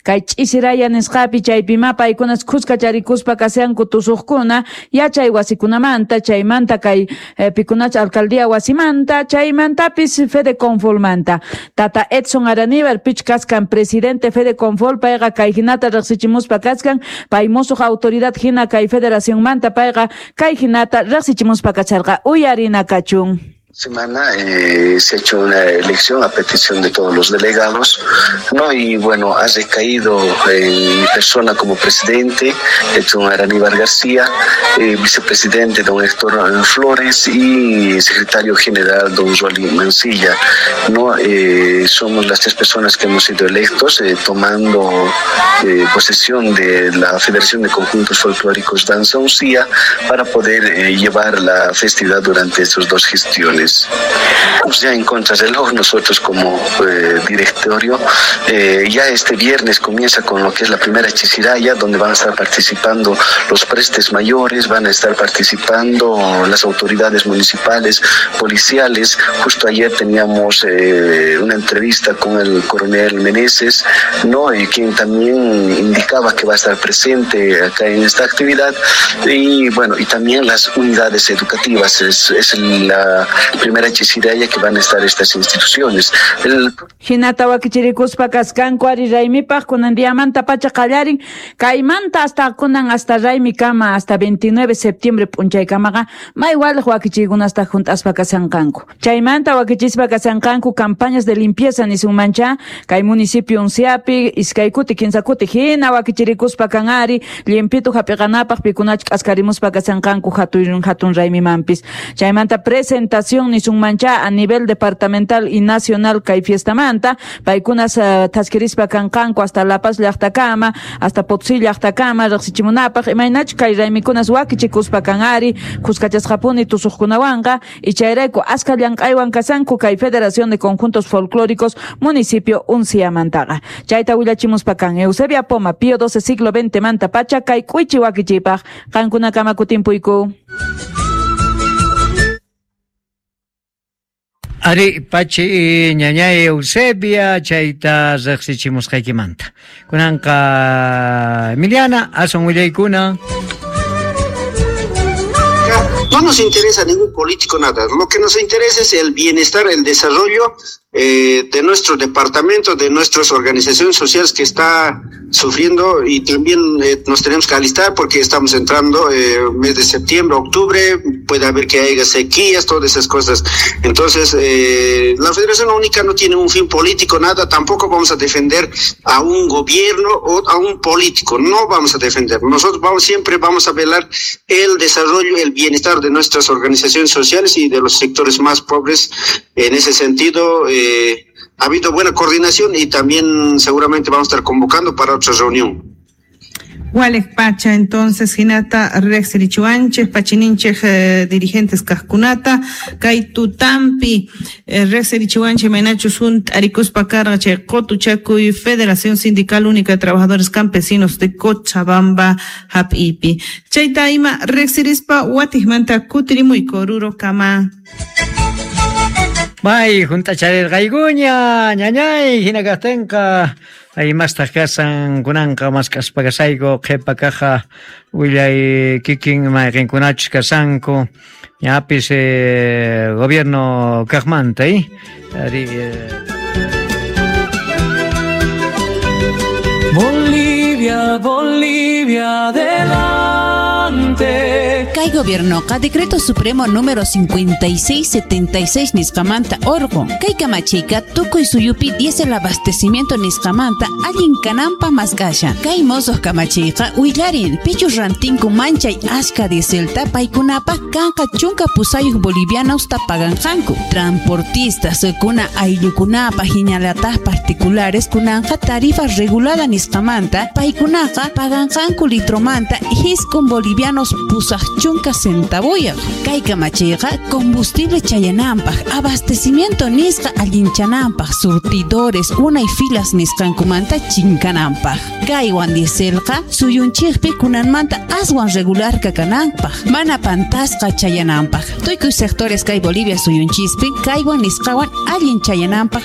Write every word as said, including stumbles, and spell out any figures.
Kay ch'isiraya nisqapi chaypima paykunas khuskacharikuspa kashanku tusuqkuna yachay wasikunamanta chaymanta kay eh, pikunach alcaldía wasimanta chaymantapis Fede Confolmanta. Tata Edson Araníbar pich kaskan presidente Fede Confol payqa kay hinata riqsichimuspa kaskan pay musuq autoridad hina kay federacionmanta payqa kay hinata riqsichimuspa kacharqa uyarina kachun. Semana eh, se ha hecho una elección a petición de todos los delegados, ¿no? Y bueno, ha recaído en mi persona como presidente, Edson Araníbar García, eh, vicepresidente don Héctor Flores y secretario general don Rolly Mancilla, ¿no? Eh, somos las tres personas que hemos sido electos, eh, tomando eh, posesión de la Federación de Conjuntos Folclóricos Danza Uncía para poder eh, llevar la festividad durante estas dos gestiones. Ya en contrarreloj nosotros como eh, directorio, eh, ya este viernes comienza con lo que es la primera chisiraya, donde van a estar participando los prestes mayores, van a estar participando las autoridades municipales, policiales. Justo ayer teníamos eh, una entrevista con el coronel Meneses, ¿no? Y quien también indicaba que va a estar presente acá en esta actividad. Y bueno, y también las unidades educativas, es, es la primera chisiraya que van a estar estas instituciones. El... Hinata wakichirikuspa kaskanku ari raymipaj kunan diamanta pacha qallarin kaymanta hasta kunan hasta raymikama hasta veintinueve de septiembre p'unchaykamaqa may waliq wakichiykunasta junt'aspa kasanqanku. Chaymanta wakichispa kasanqanku campañas de limpieza nisunmancha kay municipio Unciapi iskay kuti kinsa kuti hina wakichirikuspa kan ari limpitu hap'iqanapaq pikunach k'askarimuspa kasanqanku hatun hatun raymimanpis. Chaymanta presentación nisunmancha a nivel departamental y nacional kay fiestamanta paykunas uh, thaskirispa kanqanku hasta La Paz llaqtakama hasta Potosí llaqtakama riqsichimunapaq imaynach kay raymikunas wakichikuspa kan ari khuskachasqapuni tusuqkunawanqa y chayrayku aska llank'aywan kasanku kay Federación de Conjuntos Folclóricos municipio Unciamantaqa. Chayta willachimuspa kan Eusebia Poma Pío doce siglo veinte manta pacha kay k'uychi wakichipaq qankunakama kutimpuyku. Ari pachi ñañay Eusebia chayta riqsichimusqaykimanta. Kunanqa Emiliana asun willaykuna. No nos interesa ningún político nada. Lo que nos interesa es el bienestar, el desarrollo eh, de nuestro departamento, de nuestras organizaciones sociales que está sufriendo, y también eh, nos tenemos que alistar porque estamos entrando eh, mes de septiembre, octubre, puede haber que haya sequías, todas esas cosas. Entonces, eh, la Federación Única no tiene un fin político, nada, tampoco vamos a defender a un gobierno o a un político, no vamos a defender. Nosotros vamos, siempre vamos a velar el desarrollo, el bienestar de nuestras organizaciones sociales y de los sectores más pobres. En ese sentido, eh, ha habido buena coordinación y también seguramente vamos a estar convocando para otra reunión. Walej pacha entonces hinata rexerichuanches pachininchej eh, dirigentes kajkunata kay tutampi eh, rexerichuanche maynachu sunt arikuspa karqa chay qotuchakuy Federación Sindical Única de Trabajadores Campesinos de Cochabamba hap'ipi chayta ima rexerispa watijmanta kutirimuyku Oruro kama. May juntacharirqaykuña ñañay hina kaqtinqa ay mastaq kasan kunanqa mask'aspa kasayku qhipa kaja willay kikin mayqinkunachus kasanku ñapis eh, gobierno kaqmanta eh? Ari, eh. Bolivia, Bolivia, adelante. Kay gobiernoqa Decreto Supremo número cincuenta y seis setenta y seis nisqamanta orqun. Kay kamachiyqa tukuy suyupi diésel abastecimiento nisqamanta allin kananpaq mask'ashan. Kay mosoq kamachiyqa willarin pichus rantinku manchay ashka dieselta paykunapaq kanqa chunka pusayuq bolivianosta paganqanku. Transportistas kuna ayllukunapaq hinallataq particulares kunanqa tarifa regulada nisqamanta paykunaqa paganqanku litromanta hiskun bolivianos pusaq chunka centavuyaq. Kay kamachiyqa combustible chayananpaq, abastecimiento nisqa allinchananpaq, surtidores unay filas nisqankumanta chinkananpaq. Kaywan dieselqa suyunchikpi kunanmanta aswan regular kakananpaq, mana pantasqa chayananpaq. Tukuy sectores kay Bolivia suyunchispi kaywan nisqawan allin chayananpaq.